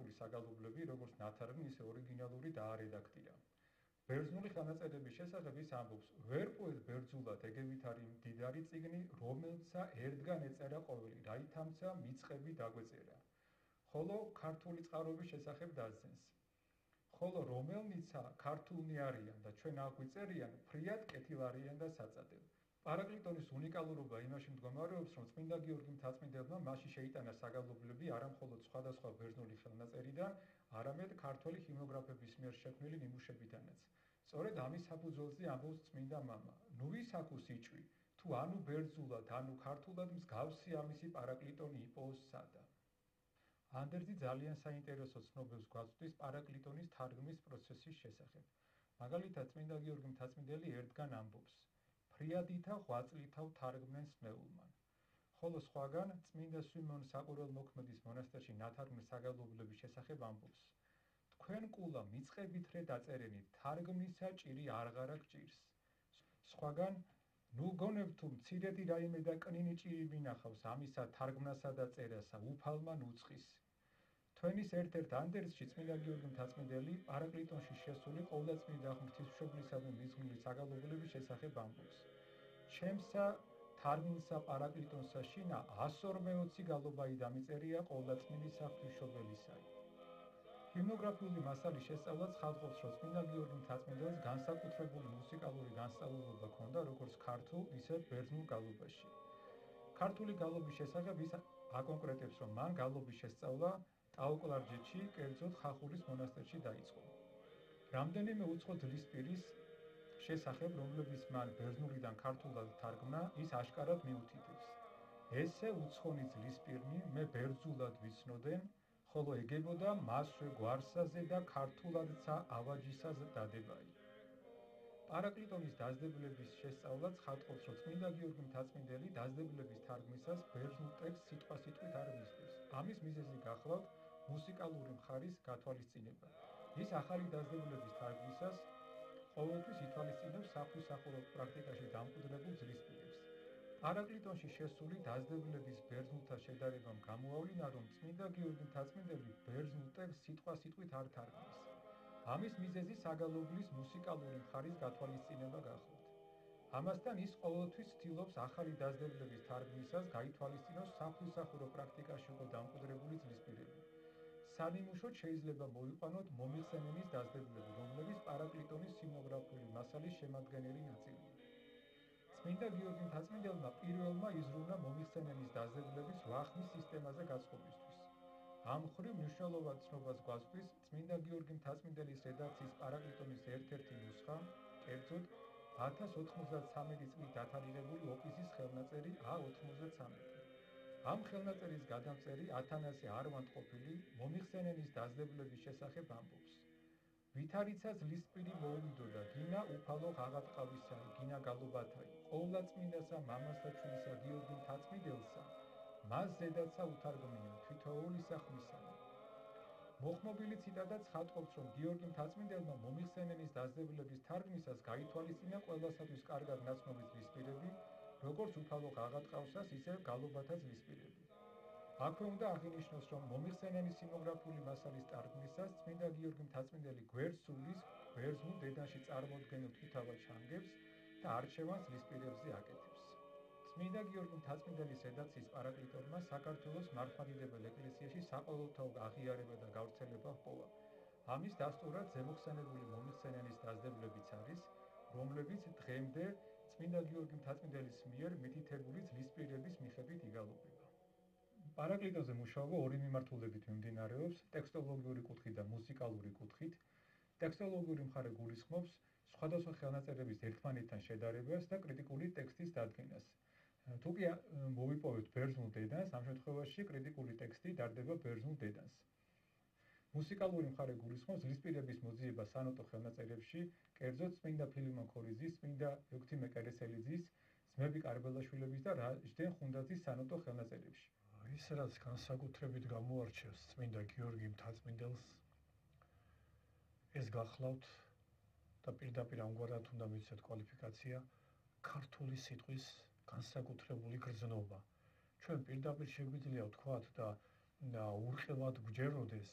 იტალიურენოვანი საგალობლები, როგორც ნათარგმნი, ისე ორიგინალური დაარედაქტირა. ბერძნული ხელნაწერების შესახებ ის ამბობს: ვერ პოეთ ბერძნულად ეგევით არის მდიდარი წიგნი, რომელცა ერთგან ეწერა ყოველი, რაითამცა მიწყები დაგვეწერა. ხოლო ქართული წყაროების შესახებ დასძენს. ხოლო რომელნიცა ქართულნი არიან და ჩვენ აღვიწერიან, ფრიად კეთილ არიან და საწადელ. პარაკლიტონის უნიკალურობა იმაში მდგომარეობს, რომ წმინდა გიორგი მთაწმინდელმა მასში შეიტანა საგალობლები არა მხოლოდ სხვადასხვა ბერძნული ხელნაწერიდან, არამედ ქართველი ჰიმნოგრაფების მიერ შექმნილი ნიმუშებიდანაც. სწორედ ამის საფუძველზე ამბობს წმინდა მამა: ნუ ვის აქვს იჭვი, თუ ანუ ბერძნულად, ანუ ქართულად მსგავსი ამისი პარაკლიტონი იპოვოს სადა. ანდერძი ძალიან საინტერესო ცნობებს გვაწვდის პარაკლიტონის თარგმნის პროცესის შესახებ. მაგალითად, წმინდა გიორგი მთაწმინდელი ერთგან ამბობს: ფრიადითა ღვაწლითა ვთარგმნენ სმეულმან. ხოლო სხვაგან წმინდა სვიმონ საყურელმოქმედის მონასტერში ნათარგმნი საგალობლების შესახებ ამბობს: თქვენ კულა მიწყებითრე დაწერენით, თარგმნისა ჭირი არღარა გჭირს. სხვაგან ნუ გონებ თუ მცირედი რაიმე და კნინი ჭირი მინახავს ამისა თარგმნასა და წერასა უფალმა ნუწყის. თქვენის ერთ-ერთ ანდერძში წმინდა გიორგი მთაწმინდელი პარაკლიტონში შესული ყოვლადწმიდა ღვთისმშობლისადმი მიზღვნილი საგალობლების შესახებ ამბობს: ჩემსა თარგმნსა პარაკლიტონსა შინა 140 გალობაი დამიწერია ყოვლადწმიდისა ღვთისმშობელისაი. ჰიმნოგრაფიული მასალის შესწავლა ცხადყოფს, რომ წმინდა გიორგი მთაწმინდელს განსაკუთრებული მუსიკალური განსწავლულობა ჰქონდა როგორც ქართულ, ისე ბერძნულ გალობაში. ქართული გალობის შესახებ ის აკონკრეტებს, რომ მან გალობის შესწავლა ტაო-კლარჯეთში, კერძოდ ხახულის მონასტერში დაიწყო. რამდენიმე უცხო ძლისპირის შესახებ, რომლებიც მან ბერძნულიდან ქართულად თარგმნა, ის აშკარად მიუთითებს: ესე უცხონი ძლისპირნი მე ბერძნულად ვიცნოდენ, ხოლო ეგებოდა მასვე გვარსაზე და ქართულადცა ავაჯისას დადებაი. პარაკლიტონის დაძლებულების შესწავლაც ცხადყოფს, რომ წმინდა გიორგი მთაწმინდელი დაძლებულების თარგმნისას ბერძნულ ტექსტს სიტყვასიტყვით არ მისდევს. ამის მიზეზი გახლავთ მუსიკალური მხარის გათვალისწინება. ის ახალი დაძლებულების თარგმნისას ყოველთვის ითვალისწინებს საღვთისმსახურო პრაქტიკაში დამკვიდრებულ ძლისპირებს. პარაკლიტონში შესული დაძლებულების ბერძნულთან შედარებამ გამოავლინა, რომ წმინდა გიორგი მთაწმინდელი ბერძნულ ტექსტს სიტყვასიტყვით არ თარგმნის. ამის მიზეზი საგალობლის მუსიკალური მხარის გათვალისწინება გახლავთ. ამასთან ის ყოველთვის ცდილობს ახალი დაძლებულების თარგმნისას გაითვალისწინოს საღვთისმსახურო პრაქტიკაში უკვე დამკვიდრებული ძლისპირები. სანიმუშოდ შეიძლება მოვიყვანოთ მომიხსენების დაძლებულები, რომლებიც პარაკლიტონის ჰიმნოგრაფიული მასალის შემადგენელი ნაწილია. წმინდა გიორგი მთაწმინდელმა პირველმა იზრუნა მომიხსენების დაძლებულების ვახნის სისტემაზე გაწყობისთვის. ამ მხრივ მნიშვნელოვან ცნობას გვაწვდის წმინდა გიორგი მთაწმინდელის რედაქციის პარაკლიტონის ერთ-ერთი ნუსხა, კერძოდ 1093 წლით დათარიღებული ოპისის ხელნაწერი A93. ამ ხელნაწერის გადამწერი ათანასე არვანდყოფილი მომიხსენების დაძლებულების შესახებ ამბობს: ვითარიცა ძლისპირი მოუვიდოდა, გინა უფალო ღაღატყავისაი, გინა გალობათაი, ყოვლადწმიდასა მამასა ჩვენსა გიორგი მთაწმინდელსა, მას ზედაცა უთარგმნია თვითოულისა ხმისანი. მოხმობილი ციტატა ცხადყოფს, რომ გიორგი მთაწმინდელმა მომიხსენების დაძლებულების თარგმნისას გაითვალისწინა ყველასათვის კარგად ნაცნობი ძლისპირები, როგორც უფალო ღაღატყავსას, ისე გალობათა ძლისპირები. აქვე უნდა აღინიშნოს, რომ მომიხსენების ჰიმნოგრაფიული მასალის თარგმნისას წმინდა გიორგი მთაწმინდელი გვერდს სულის ბერძნულ დედანში წარმოდგენილ თვითავა ჩანგებს და არჩევანს ძლისპირებზე აკეთებს. წმინდა გიორგი მთაწმინდელის რედაქციის პარაკლიტონმა საქართველოს მართლმადიდებელ ეკლესიაში საყოველთაო აღიარება და გავრცელება ჰპოვა. ამის დასტურად ზემოხსენებული მომიხსენების დაძლებულებიც არის, რომლებიც დღემდე წმინდა გიორგი მთაწმინდელის მიერ მითითებული ძლისპირების მიხედვით იგალობება. პარაკლიტონზე მუშაობა ორი მიმართულებით მიმდინარეობს: ტექსტოლოგიური კუთხით და მუსიკალური კუთხით. ტექსტოლოგიური მხარე გულისხმობს სხვადასხვა ხელნაწერების ერთმანეთთან შედარებას და კრიტიკული ტექსტის დადგენას. თუ კი მოვიპოვეთ ბერძნულ დედანს, ამ შემთხვევაში კრიტიკული ტექსტი დარდება ბერძნულ დედანს. მუსიკალური მხარე გულისხმობს ძლისპირების მოძიება სანოტო ხელნაწერებში, კერძოდ წმინდა ფილიმონ ქორიძის, წმინდა ექვთიმე კერესელიძის, ძმები კარბელაშვილების და რაჟდენ ხუნდაძის სანოტო ხელნაწერებში. ის რაც განსაკუთრებით გამოარჩევს წმინდა გიორგი მთაწმინდელს, ეს გახლავთ და პირდაპირ ამგვარად უნდა მიცეთ კვალიფიკაცია ქართული სიტყვის განსაკუთრებული გრძნობა. ჩვენ პირდაპირ შეგვიძლია ვთქვათ და ურყევად გვჯეროდეს,